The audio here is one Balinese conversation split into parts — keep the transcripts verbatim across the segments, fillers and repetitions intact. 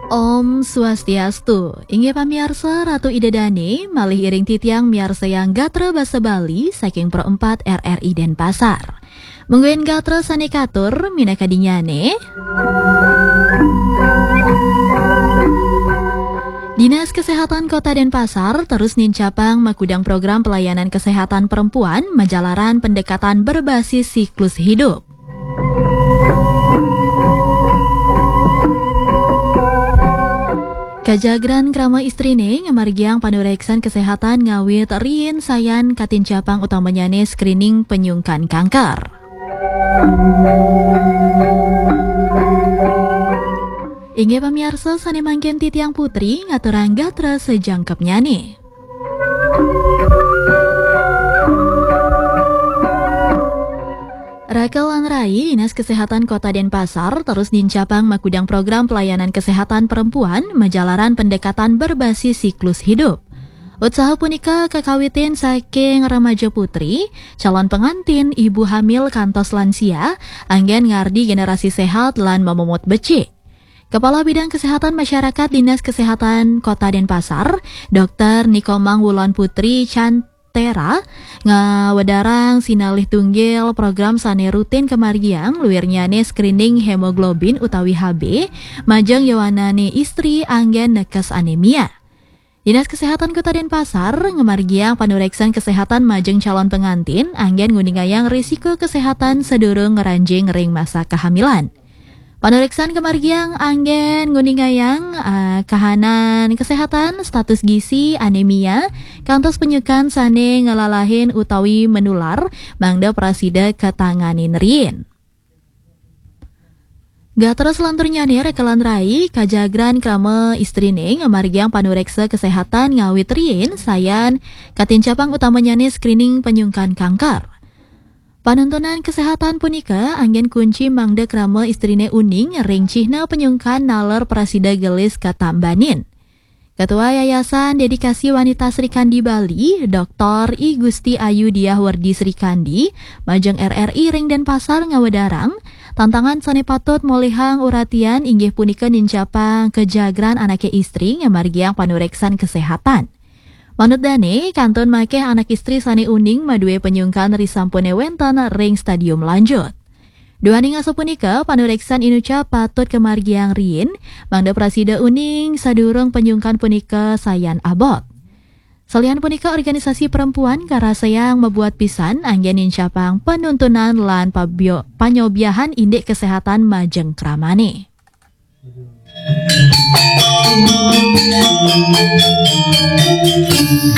Om Swastiastu. Inggih pamiarsa, Ratu Ida Dane malih iring titiang miarsayang gatra basa Bali saking Pro empat R R I Denpasar. Mungguing gatra sane katur minakadinnyane. Dinas Kesehatan Kota Denpasar terus nincapang makudang program pelayanan kesehatan perempuan majalaran pendekatan berbasis siklus hidup. Kajagran krama istrine ngamargiang panureksan kesehatan ngawit riin sayan katincapang utamanyane screening penyungkan kanker. Inggih pamiarsa sane mangkin titiang Putri ngaturang gatra sajangkepnyane. Raka lan rai, Dinas Kesehatan Kota Denpasar terus nincapang makudang program pelayanan kesehatan perempuan majalaran pendekatan berbasis siklus hidup. Utsaha punika kakawitin saking remaja putri, calon pengantin, ibu hamil kantos lansia, anggen ngardi generasi sehat lan mamomot becik. Kepala Bidang Kesehatan Masyarakat Dinas Kesehatan Kota Denpasar, Doktor Nikomang Wulan Putri Cantera, ngawedarang sinalih tunggil program sane rutin kamargiang, luirnyane screening hemoglobin utawi H B, majeng yowanane istri anggen nekes anemia. Dinas Kesehatan Kota Denpasar ngamargiang panureksan kesehatan majeng calon pengantin anggen nguningayang risiko kesehatan sadurung ngranjing ring masa kehamilan. Panureksan kamargiang anggen nguningayang, ah, kahanan kesehatan, status gizi, anemia, kantos penyukan sane ngelalahin utawi menular, mangda prasida katanganin riin. Gatra selanturnyane, raka lan rai, kajagran krama istrine ngamargiang panureksa kesehatan ngawit riin sayan katincapang utamanyane screening penyungkan kanker. Panuntunan kesehatan punika anggen kunci mangda krama istrine uning ring cihna penyungkan naler prasida gelis katambanin. Ketua Yayasan Dedikasi Wanita Sri Kandi Bali, Doktor I Gusti Ayu Diah Werdi Sri Kandi, majeng R R I ring Denpasar ngawedarang, tantangan sane patut molihang uratian inggih punika nincapang kejagran anake istri ngamargiang panureksan kesehatan. Manut dane, kantun makeh anak istri sane uning madue penyungkan risampune wenten ring stadium lanjut. Duaning asapunika, panureksan inucap patut kamargiang riin, mangda prasida uning sadurung penyungkan punika sayan abot. Salian punika, organisasi perempuan karasayang mabuat pisan anggen nincapang panuntunan lan pabio-, panyobiahan indik kesehatan majeng kramane.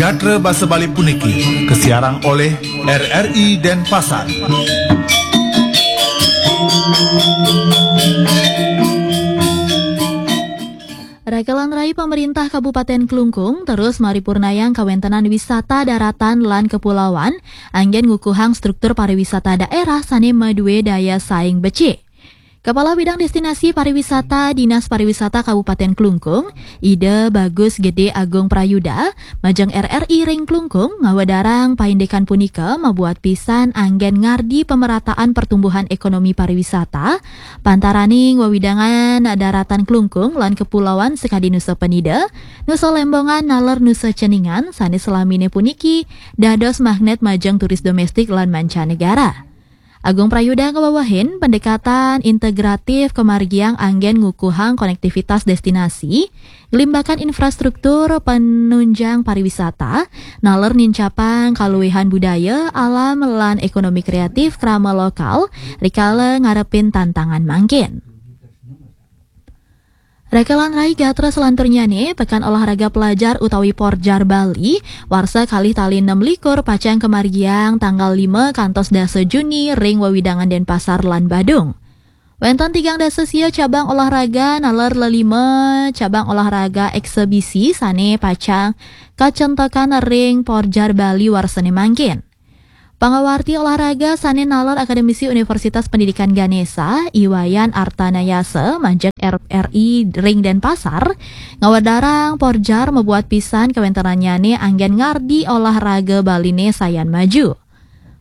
Gatra basa Bali puniki kasiarang oleh R R I Denpasar. Raka lan rai, pamerintah Kabupaten Klungkung terus maripurnayang kawentenan wisata daratan lan kepulauan, anggen ngukuhang struktur pariwisata daerah sane madue daya saing becik. Kepala Bidang Destinasi Pariwisata Dinas Pariwisata Kabupaten Klungkung, Ida Bagus Gede Agung Prayuda, majeng R R I ring Klungkung, ngawedarang paindikan punika mabuat pisan anggen ngardi pemerataan pertumbuhan ekonomi pariwisata, pantaraning wewidangan daratan Klungkung lan kepulauan sakadi Nusa Penida, Nusa Lembongan naler Nusa Ceningan sane selamine puniki dados magnet majeng turis domestik lan mancanegara. Agung Prayuda ngawewehin, pendekatan integratif kamargiang anggen ngukuhang konektivitas destinasi, nglimbakan infrastruktur penunjang pariwisata, naler nincapang kaluihan budaya, alam, lan ekonomi kreatif krama lokal, rikala ngarepin tantangan mangkin. Raka lan rai, gatra selanturnyane, Pekan Olahraga Pelajar utawi Porjar Bali, warsa kalih tali enam likur pacang kamargiang tanggal lima kantos dasa Juni ring wewidangan Denpasar lan Badung. Wenten tigang dasa sia cabang olahraga naler lelima cabang olahraga eksebisi sane pacang kacentekan ring Porjar Bali warsane mangkin. Pangawarti olahraga sane naler Akademisi Universitas Pendidikan Ganesha, I Wayan Artanayasa, majeng R R I ring Denpasar, ngawedarang Porjar mabuat pisan kawentenannyane anggen ngardi olahraga Baline sayan maju.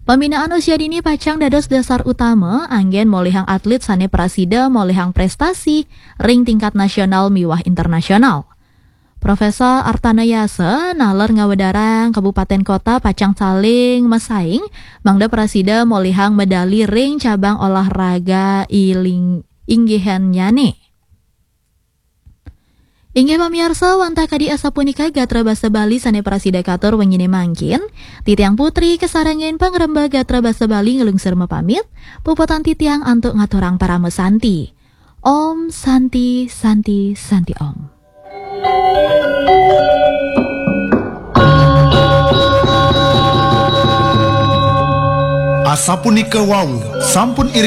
Pembinaan usia dini pacang dados dasar utama anggén molihang atlet sané prasida molihang préstasi ring tingkat nasional miwah internasional. Profesor Artana Yasa naler ngawedarang kabupaten kota pacang saling masaing mangda prasida molihang medali ring cabang olahraga iling inggihannyané. Inggih pamiarsa, wantah kadi asapunika gatra basa Bali sané prasida katur wenginé mangkin. Titiang Putri kasarengin pangrembag gatra basa Bali nglungsur mapamit. Puputang titiang antuk ngaturang parama santi. Om Santi Santi Santi Om. Asapunika wau sampun iring